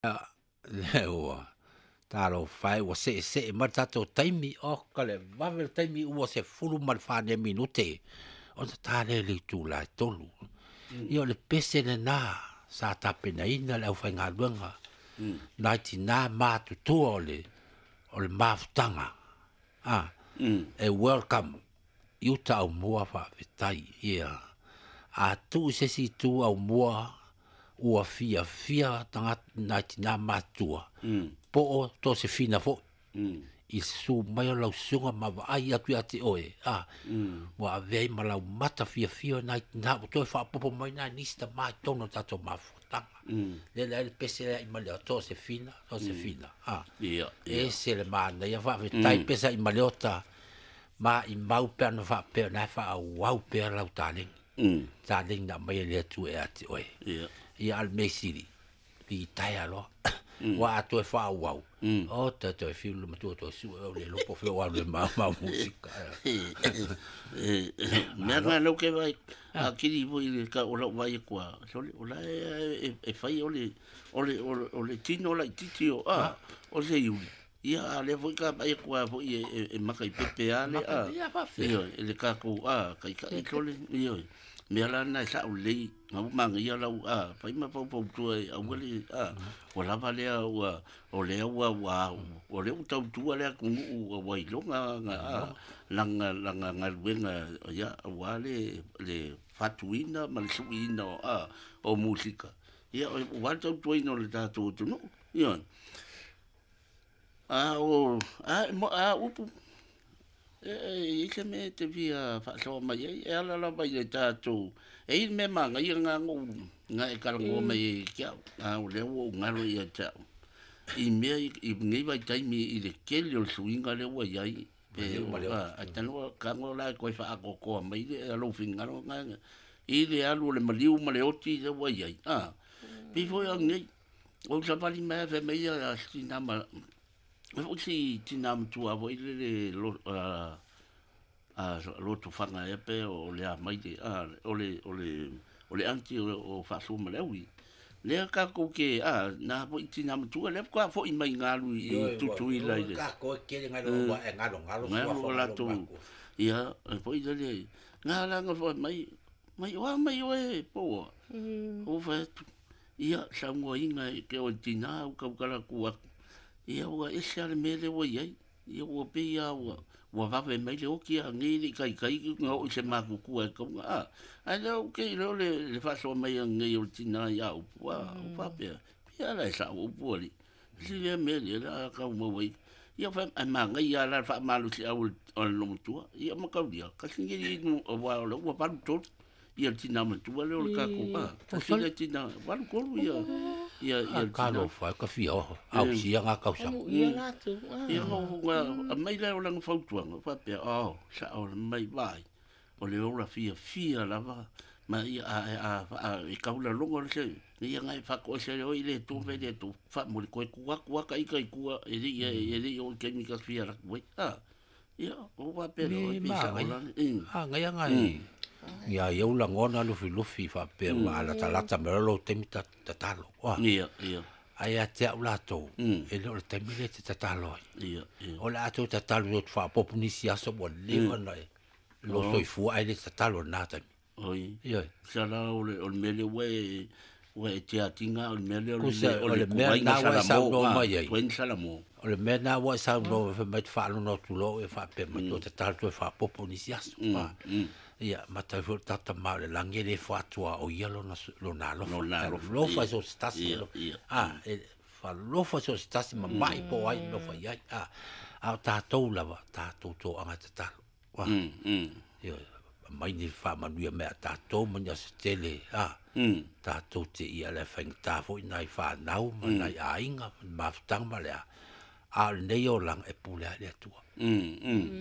Lea ua talofa e ua seesee mai le tatou taimi, oka le vave le taimi ua 14 minute ona ta lea i le itula e 3. Ia o le pese lena sa tapenaina le aufaigaluega nai tina matutua o le mafutaga e welcome i uta aumua faafetai. Ia a tuu i se isi itu aumua ua fiafia tagata nai tina matutua po o Tosefina foi i le susu mai o lau susuga ma vaai atu ia te oe ua avea ai ma lau mata fiafia o nai tina ua toe faaopoopo mai nai nisi tama i totonu o le tatou mafutaga. Lea le ai le pese lea i Maleota, Tosefina, Tosefina. Ese le manaia, faafetai pesa i Maleota ma i mau pe ana faapea na e faaauau pea lau taleni. Taleni na aumai e le Atua ia te oe. Ia a le mea sili, litaea loa. Ua a toe faaauau, o toe toe fiu le matua toe sue o le iloa po o fea ua alu ai ma mau musika. Mea na lau ke vai a kiri foi le ka o lau vai kua sole o la e fai o le o le o le tino la titi o a o se iuli ia a le foi ka vai kua foi e maka i pepe a le a ia le ka ko a kai ka i sole ia mea la na sa o lei ngau manga ia lau a fai ma pau pau tua e aua le a ua lava lea ua o lea ua ua o lea ua tautua lea atunuu ua ua iloga ga a langa langa galuega ia aua le le fatuina ma le suiina o a o musika ia ua le tautuaina o le tatou atunuu ia a o a mo a upu e i se mea e te fia faasoa mai ai e ala lava i le tatou e i le mea magaia nga ou nga e talanoa mai ai ke au a o lea ua ou galo ia te au i mea i nei vaitaimi i le tele o le suiga lea ua i ai pe a tanoa tago la e toe faaatoatoa mai le lou finagalo nga i le alu o le maliu ma le oti lea ua i ai a pei foi o nei o savali mai fai mai ia tina ma e foi si tina matua foi le le a lotu fanga e pe o le a mai le a o le o le o le anti o faasua ma le aui lea tatou ke a na foi tina matua lea faatoa foi mai galu i Tutuila i le ka koe kele ngai lo e ngalo ngalo ngalo o latou ia e foi le nga la nga foi mai mai oa mai oe po o fai atu ia saunoaina e ke o tina u kaukala ku aku ia ua ese a le mea lea ua i ai ia ua pei a ua ua vave mai le oki a nei le kai kai nga o i se makuku e kaunga a ai lea o ke leo le le faasoa mai a nei o le tina ia upu a o faapea pia la e sa upu ali si le mea le la kau mau ai ia fa ai magaia la faamalosi au o le lomatua ia ma kaulia kasi ngeri nu o wa o le ua 83 ia le tina matua lea o le tatou a kasi le tina 83 ia ia ia le tina Talofa ka fia oho au sia ngā kausaga. Ia latou. Ia nga mai lea o lana fautuaga faapea ao sa o le mai vai o le ola fiafia lava ma ia a a a e kaulalogo le se ia ngai faatoese le oi le tu pe le tu faamuli koe kua kua ka ika i kua e le ia e le o le taimi ka fia laku ai a ia o faapea le Me oi pe sa magai. ola A ngai ngai. Ia ia ula ngona lufi lufi faapea ma alatalata me lo taimi tatalo. Wa. Ia ia Ai a te au latou e le o le taimi le te tatalo ai. Ia ia O le atou tatalo o te faapopo nisi aso ua leva na e lo soifua ai le tatalo na taimi. Oi Ia. sa la o le o le mea lea ua e ua e tiatiga o le mea lea o Kusa, le o le mea tuaiga na ua e Salamo saunoa a mai ai. tuaiga Salamo O le mea na ua e saunoa fai mai te faalogo atu loa e faapea mai toe tatalo toe faapopo nisi aso. Ia matai foi le tata ma o le lagi e le faatua o ia lona lona alofa. Lona alofa. Alofa so se tasi. Ia, ia. A e faalofa so se tasi ma mai po ai alofa i ai. A a o tatou lava tatou toaga tatalo. Wa. Ia mai ni faamanuia mai a tatou ma ni aso tele a tatou te ia le faigata foi nai whanau ma nai aiga ma mafutaga ma le a. A o lenei olaga e pule ai le Atua.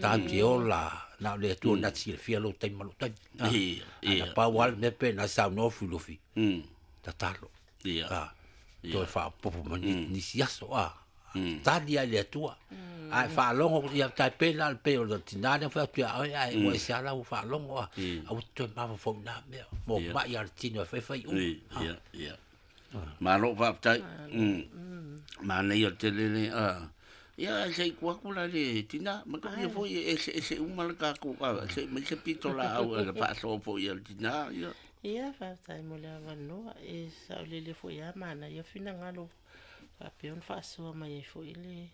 Tatou te ola na o le Atua na te silafia lou taimi ma lou taimi. Ia, ia. Ana pau lava le mea pe na saunoa Lufilufi, tatalo. Ia. A, toe faaopoopo ma nisi aso a. Tali ai le Atua. A e faalogo ia tai pe la le pe o le tina lea fai atu ia oe, ae ua ese lava lau faalogo a. Aua te toe mafaufau i nā mea. Mo mai a le tino e faifai uma. Ia, ia. Malo faafetai. Manaia tele le a. Ia ae se i tuu atu la i le tina, manatua foi e eseese uma le tatou a se i aumai se pitolaau a le faasoa foi a le tina, ia. Ia, faafetai mo le avanoa. E saolele foi lava manaia finagalo faapea ona faasoa mai ai foi le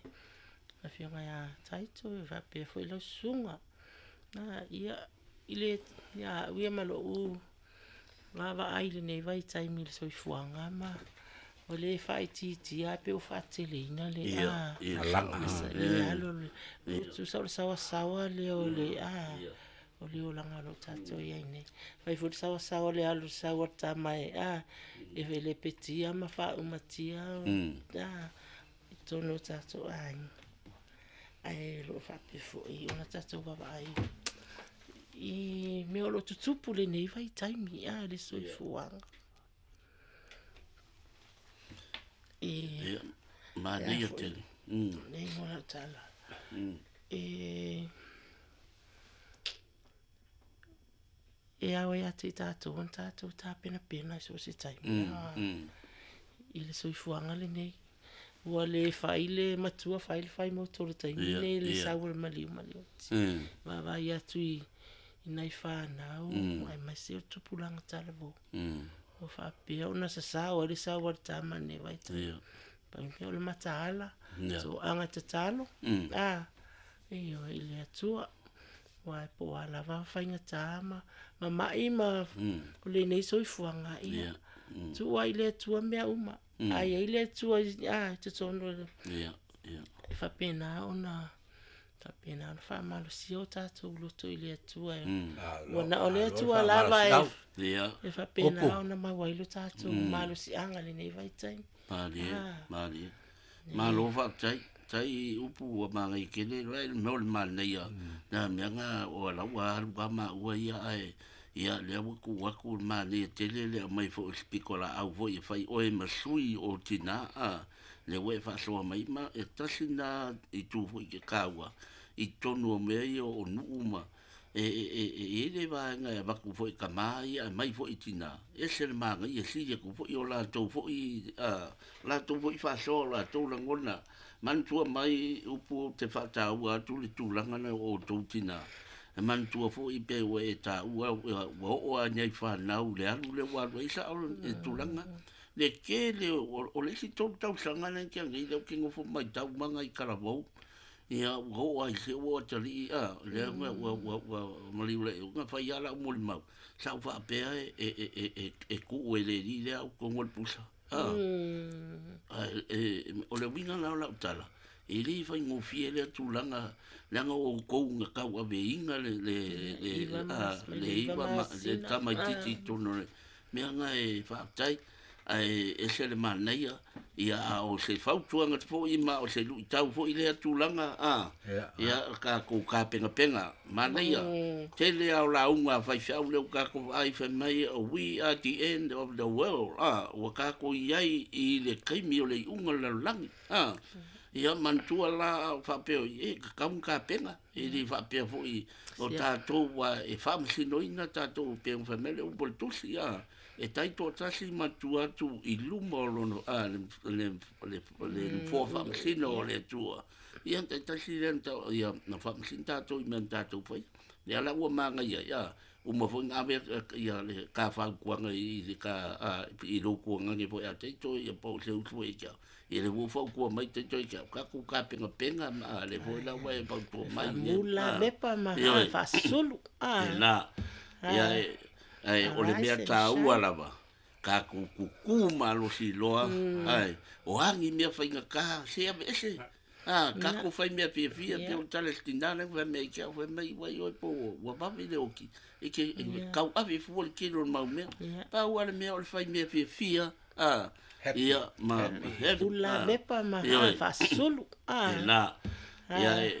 afioga ia Taito faapea foi lau susuga. Ia, i le, ia au ia ma lou vaavaai i lenei vaitaimi i le soifuaga ma ua le faaitiitia ae pei ua faateleina le alu, tusa o le saoasaoa lea o le o le olaga o lo o tatou i ai nei. Fai foi le saoasaoa o le alu sau a le tama e e lepetia ma faaumatia i totonu o tatou aiga. Ae o lo o faapea foi ona tatou vaavaai i mea o lo o tutupu i lenei vaitaimi, le soifuaga. E, Ia, manaia tele. Nei mo lau tala. E, e ao ia te i tatou ona tatou tapenapena i so o se taimi i le soifuaga lenei. Ua le fai le matua, fai le fai moto i le taimi lenei, le sau o le maliu ma le oti. Vaavaai atu i nai fanau, aemaise o tupulaga talavou. Ua faapea ona sasao ai le sau a le tama i lenei vaitaimi. Pau le mea o le mataala, toaga tatalo, ioe, i le Atua. Aua po o a lava faigata ma mamai ma o lenei soifuaga, ia, tuu lava i le Atua mea uma. A i ai le Atua i totonu o le... E faapena ona faapena ona faamalosia o tatou loto i le Atua. Ua na o le Atua lava e faapena ona maua ai lo tatou malosiaga i lenei vaitaimi. Malie, malie. Malo faafetai. Tai upu ua manaia tele le mea o le manaia. Na mea na o lau ua alu lava maua ia ae ia lea ua tuu atu le manaia tele le aumai foi o se pitolaau foi e fai oe ma sui o tina a lea ua e faasoa mai ma e tasi lena itu foi te taua i totonu o mea ia o nuu ma e i ai le vaega e avatu foi i tama ia aumai foi i tina, e ese le manaia sili atu foi o latou foi latou foi faasoa o latou lagona. Manatua mai upu ou te faataua atu le tulaga lea o outou tina, e manatua foi pe ua e taua ua oo lava i nai fanau i le alu lea ua alu ai sao le tulaga. Le tele o le isi 3 tausaga lea na tea nei lea ou te nofo matau ma nai talavou, ia ua oo lava i se ua atalii a, lea ua maliu le na fai lava lau molimau, sa ou faapea e tuu e le alii lea au totonu o le pusa. O le uiga la o lau tala, e le faigofie lea tulaga, leaga o outou na tauaveina le iva ma le tamaitiiti i totonu o le mea na e faafetai, ae ese le manaia, ia a o se fautuaga foi ma o se luitau foi lea tulaga, a, ia tatou tapenapena, manaia, tele lava o lauga a faifeau lea ua tatou vaai fai mai, we are the end of the world, a, ua tatou i ai i le taimi o le iuga o le lalolagi, a, ia manatua la a o faapea, e tatau ona tapena, e le faapea foi o tatou ua e faamasinoina tatou pei ona fai mai le upu a le tusi, a, e taitoatasi ma tua atu i luma o lona le nofoa faamasino o le Atua. Ia taitasi lea ia na faamasino tatou i mea na tatou faia. Lea la ua manaia ai, a, uma foi ona ave ia le ta fautuaga i le ta i lou tuagane foi a Taito ia po o se usu foi ia te au. Ia lea ua fautua mai Taito ia te au, tatou tapenapena ma lea foi la ua e fautua mai. Faamula mepa ma faasulu. E la, ia ae o le mea taua lava, tatou tutu malosi loa, ae o a ni mea faigata, se aveese, a, tatou fai mea fiafia, pei o le tala i le tina lea na fai mai ia te au, fai mai, uai oe po ua vave le oti, e te tauave fua le tele o le mau mea. Pau lava le mea o le fai mea fiafia, a, ia, ma, Ula mepa ma faasulu. E la, ia,